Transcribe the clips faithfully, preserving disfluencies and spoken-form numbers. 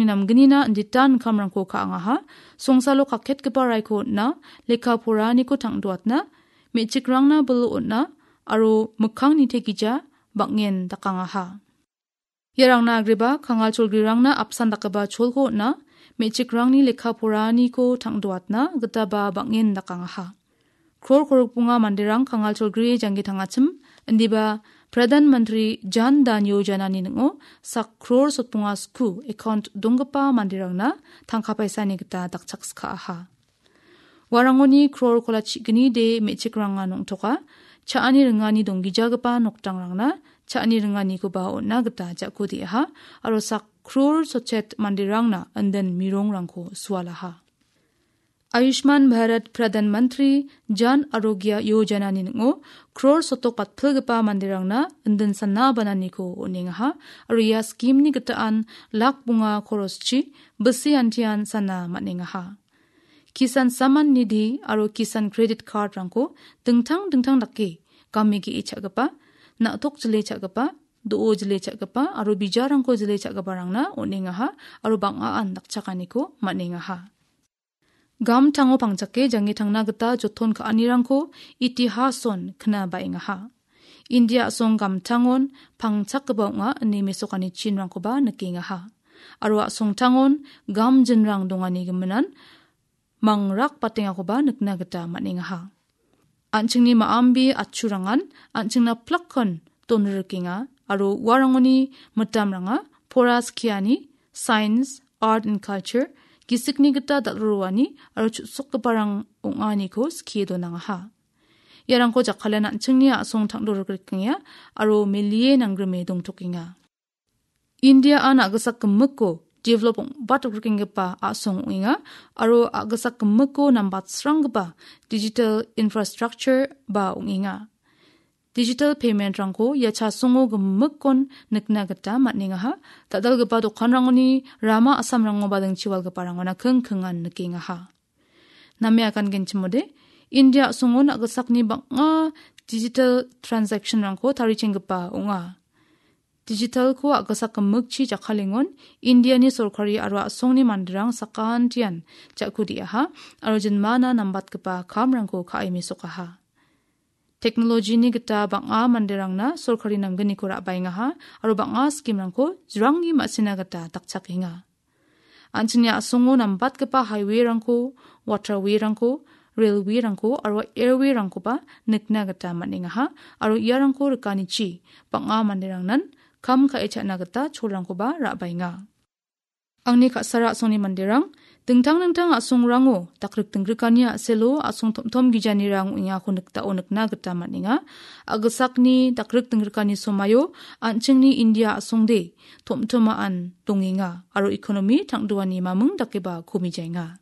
namgnina inditan kamrangko ka·angaha, songsalo kaketgipa raiko on·na, lekka poraniko tangdoatna, me·chikrangna bil on·na, aro mikkang nitegija bang·en dakangaha. Iarangna agreba kangal cholgrirangna apsan dakgipa cholko on·a, me·chikrangni lekka poraniko tangdoatna gitaba bang·en dakangaha. Kror korokbonga manderang kangal cholgri janggi tangachim, indiba Pradhan Mantri Jan Dhan Yojanani ning·o sak kror sotbonga sku account donggipa manderangna tangka paisani gita dakchakskaaha. Uarangoni kror kola chi·gni de me·chikranga nongtoka, cha·ani ringani donggijagipa nokdangrangna cha·ani ringanikoba on·na gita ja·ko de·aha, aro sak kror sotchet manderangna indin mirongrangko sualaha. Ayushman Bharat Pradhan Mantri Jan Arogya Yojanani ning·o kror sotok batpilgipa manderangna indin sana bananiko on·engaha, aro ia skimni gitaan lak bonga koroschi bisi antian sana man·engaha. Kisan Samman Nidhi aro Kisan Credit Card-rangko dingtang dingtang dake game ge·e cha·gipa, na·tok jile cha·gipa, do·o jile cha·gipa aro bijarangko jile cha·giparangna on·engaha aro bang·aan dakchakaniko man·engaha. Gamtango pangchake janggi tangna gita joton ka·anirangko itihason kna ba·engaha. India a·song gamtangon pangchakgipa ong·a ine mesokani chinrangkoba nikengaha. Aro a·songtangon gamjinrang dongani giminan mangrak batengakoba nikna gita man·engaha. An·chingni ma·ambi atchurangan an·chingna plakkon donrikenga aro uarangoni mitamranga pora skiani, science, art and culture, gisikni gita dal·roani aro chu·sokgiparang ong·aniko skie donangaha. Iarangko jakalen an·chingni a·song tangdorikrikenga aro melie nanggrime dongtokenga. India-an a·gisak gimikko develop ong·batrikenggipa a·song ong·enga aro a·gisak gimikko nambatsranggipa digital infrastructure ba ong·enga. Digital payment-rangko ia chasongo gimikkon nikna gita man·engaha. Dal·dalgipa dokanrangoni rama a·samrango badingchiwalgiparangona king kingan nikengaha. Name agan genchimode, India a·songon a·gisakni bang·a digital transaction-rangko tarichenggipa ong·a. Digital-ko a·gisak gimikchi jakkalengon Indiani sorkari aro a·songni manderang sakantian ja·ku de·aha aro jinmana nambatgipa kamrangko ka·e mesokaha. Teknolojini gita bang·a manderangna sorkari namgniko ra·baengaha aro bang·a skimrangko jrangni ma·sina gita dakchakenga. An·chingni a·songo nambatgipa highway-rangko, waterway-rangko, railway-rangko aro airway-rangkoba nikna gita man·engaha aro iarangko rikanichi bang·a manderangnan kam ka·e cha·na gita cholrangkoba ra·baenga. Angni ka·sara a·songni manderang, dingtang dingtang a·songrango dakrik dinggrikani a·selo a·song tom·tom gijanirang ong·engako niktao nikna gita man·enga. A·gisakni dakrik dinggrikani somaio an·chingni India a·songde tom·tomaan dongenga aro ekonomi tangdoani maming dakeba komijaenga.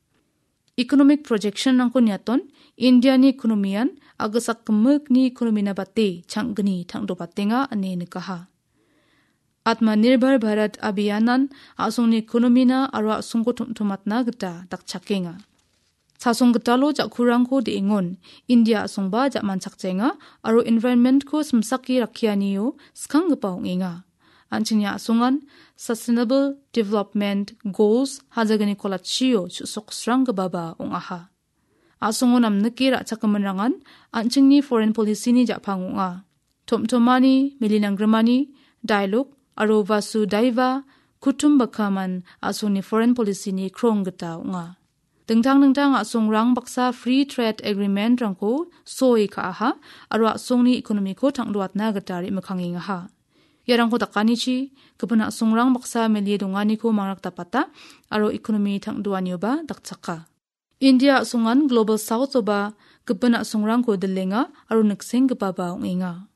Economic projection-rangko niaton, Indiani ekonomian a·gisak gimikni ekonomina bate chang·gni tangdobatenga ine nikaha. Atmanirbhar Bharat Abhiyanan a·songni ekonomina aro a·songko tom·tomatna gita dakchakenga. Chasong gitalo ja·kurangko de·engon India a·songba ja·manchakjaenga aro environment-ko simsake rakkianio skanggipa ong·enga. An·chingni a·songan Sustainable Development Goals hajagniko latchio chu·soksranggipaba ong·aha. A·songo namnike ra·chakgiminrangan an·chingni foreign policy-ni ja·pang ong·a. Tom·tomani, milinanggrimani, Dialog aro Vasudhaiva Kutumbakaman a·songni foreign policy-ni krong gita ong·a. Dingtang dingtang a·songrang baksa Free Trade Agreement-rangko soi ka·aha aro a·songni ekonomiko tangdoatna gita re·mikkangengaha. Iarangko dakanichi, gipin a·songrang baksa melie donganiko mangrakdapata aro ekonomi tangdoanioba dakchaka. India a·songan Global South-oba gipin a·songrangko dilenga aro niksenggipaba ong·enga.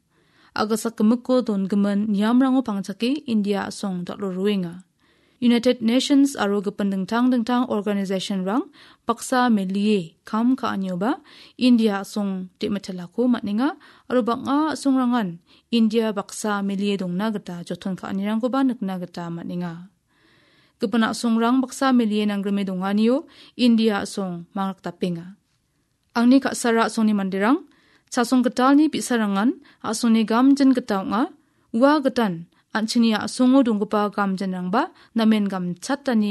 A·gisak gimikko dongimin niamrango pangchake India a·song dal·o roenga. United Nations aro gipin dingtang dingtang organization-rang baksa melie kam ka·anioba India a·song de·mitelako man·enga aro bang·a a·songrangan India baksa melie dongna gita joton ka·anirangkoba nikna gita man·enga. Gipin a·songrang baksa melie nanggrime donganio India a·song mangrakdapenga. Angni ka·sara a·songni manderang, chasong gitalni bi·sarangan a·songni gamjin gita ong·a, ua gitan an·chingni a·songo donggipa gamjinrangba namen gamchatani